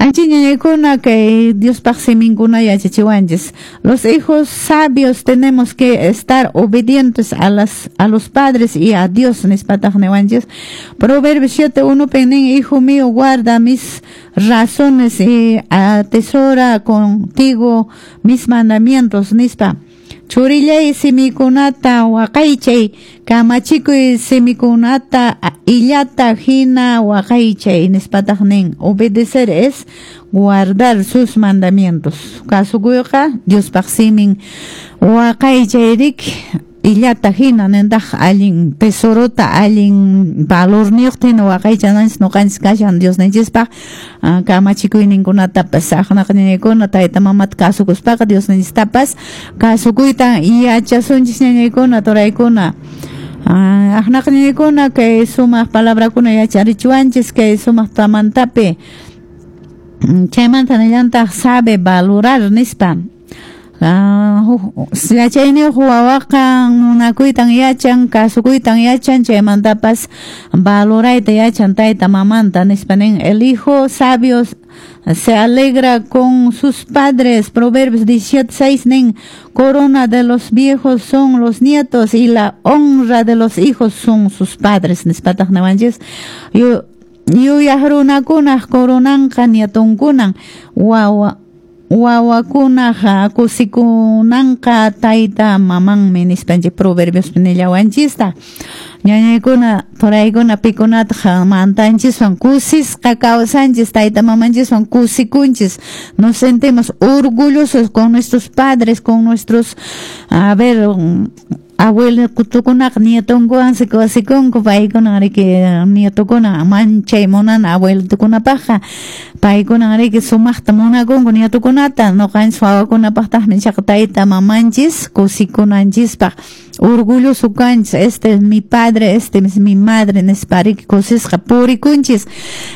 Anchiñañaykuna kay Diospaq siminkuna yachachiwanchis. Los hijos sabios tenemos que estar obedientes a los padres y a Dios, nispataq niwanchis. Proverbios 7:1 nin: "Hijo mío, guarda mis razones y atesora contigo mis mandamientos", nispa. Churillay, simikunata waqaychay, kamachikuy simikunata illata hina waqaychay, nispataq nin. Obedecer es guardar sus mandamientos. Kasukuyqa Diospaq simin waqaychay riki illata hina nintaq, allin tesorota, allin valorniyuqta hina waqaychananchis ñuqanchis kashan Diosninchispaq kamachikuyninkunatapas. Aqnaqa ñañaykuna, tayta mamata kasukuspaqa Diosninchistapas kasukuyta yachasunchis, ñañaykuna, turaykuna. Aqnaqa ñañaykuna, kay sumaq palabrakuna yacharichiwanchis kay sumaq tamantapi. Chaymanta nillantaq "sabe valorar" nispa. Yachayniyuq wawaqa munakuytan yachan, kasukuytan yachan, chaymantapas valorayta yachan tayta mamanta, nispa nin. El hijo sabio se alegra con sus padres. Proverbios 17:6 nin: "Corona de los viejos son los nietos y la honra de los hijos son sus padres", nispataq niwanchis. Yuyaq runakunaq coronanqa nietunkunan, wawakunaq kusikunanqa tayta mamanmi, nispanchik Proverbios nillawanchista. Ñañaykuna, turaykuna, pikunataq mantanchiswan kusisqa kawsanchis, tayta mamanchiswan kusikunchis, nos sentimos orgullosos con nuestros padres, con nuestros, a ver, abuelokunaqa nietonkuwansi kusikunku paykuna riki, nietukuna manchay munana abuelitukunapaqqa, paykuna riki sumaqta munakunku nietukunata. Ñuqanchis wawakunapaqtaqmi ichaqa tayta mamanchis kusikunanchispaq, orgulloso kanchis, "Este es mi padre, este es mi madre", nispa riki kusisqa purikunchis.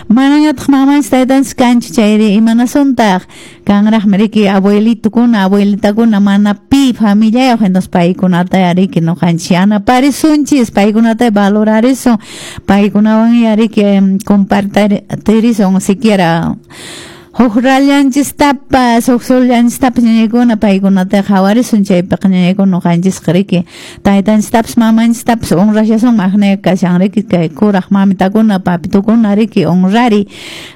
Manañataq mamanchis taytanchis kanchu chayri, imanasuntaq? Kanraqmi riki abuelitukuna, abuelitakuna mana pi familiayuq, entonces paykunata riki ñuqanchis yanaparisunchis, paykunata valorarisun, paykunawan riki compartirisun siquiera huk rallanchistapas, huk sollanchistapas, ñañaykuna, paykunata qhawarisun. Chaypiqa ñañaykuna, ñuqanchisqa riki taytanchistapas mamanchistapas honrashasun. Aqnay kashan riki kay kuraq mamitakuna, papitukuna riki honrari.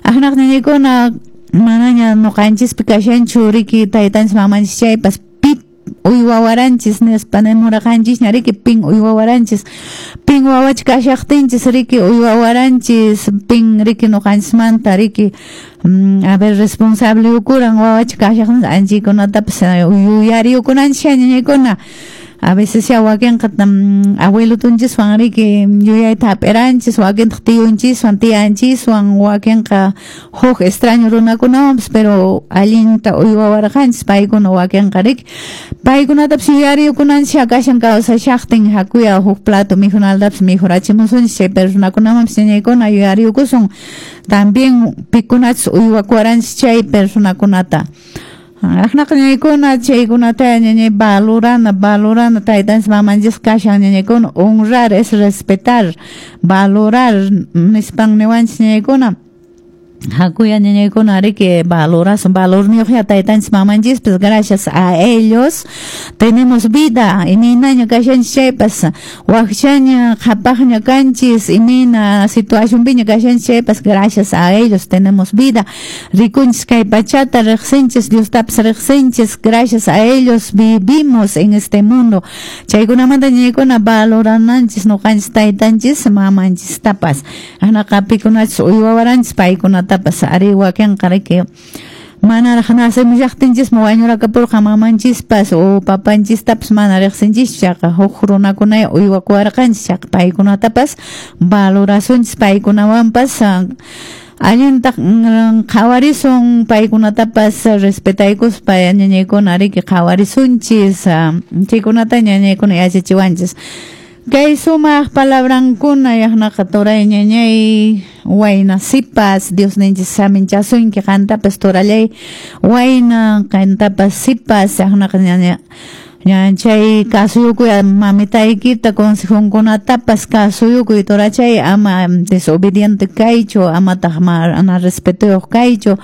Aqnaq ñañaykuna, manaña ñuqanchispi kashanchu riki taytanchis mamanchis chaypas, pi uywawaranchis nispa nimuraqanchisña riki, pin uywawaranchis, pin wawacha kashaqtinchis riki uywawaranchis, pin riki ñuqanchismanta riki a ver, responsable ukuran wawacha kashaqtinchis, anchaykunatapas yuyariyukunanchis, ñañaykuna. A veces ya wakinqa abuelotunchiswan riki yuyayta hap'iranchis, wakintaq tiyunchiswan, tiyanchiswan, wakinqa huk extraño runakunawanpas, pero allinta uywawarqanchis paykuna wakinqa riki. Paykunatapas yuyariyukunanchis kashan kawsashaqtin. Hakuya huk plato mikhunaltapas mikhurachimusunchis chay personakunamanpas, ñañaykuna, yuyariyukusun también pikunachus uywakuwaranchis chay personakunata. Aqnaqa ñañaykuna, chaykunata ñañay valorana, valorana taytanchis mamanchis kashan, ñañaykuna. Honrar es respetar, valorar nispan niwanchis, ñañaykuna. Hakuya ñañaykuna riki valorasun, valorniyuqya taytanchis mamanchispas. Gracias a ellos tenemos vida. Imaynaña kashanchis chaypas, wakchaña, qhapaqña kanchis, imayna situacionpiña kashanchis chaypas, gracias a ellos tenemos vida. Rikunchis kay pachata, riqsinchis, Diostapas riqsinchis, gracias a ellos vivimos en este mundo. Chaykunamanta ñañaykuna valorananchis ñuqanchis taytanchis mamanchistapas. Aqnaqa pikunachus uywawaranchis paykunatapas ari wakinqa riki manaraq nacemushaqtinchismi wañurakapurqa mamanchispas o papanchistapas mana riqsinchischu, chaqa huk runakunaya uywakuwarqanchis, chaqa paykunatapas valorasunchis, paykunawanpas allinta qhawarisun, paykunatapas respetaykuspa, ñañaykuna, riki qhawarisunchis. Chaykunata ñañaykuna yachachiwanchis kay sumaq palabrankuna. Yaqnaqa turay, ñañay, wayna, sipas, Diosninchis saminchasunki qantapas, turallay wayna, qantapas, sipas. Yaqnaqa ñaña chay kasuyukuy mamitaykita, consejonkunatapas kasuyukuy, turachay, ama desobediente kaychu, amataq mana respetoyuq kaychu.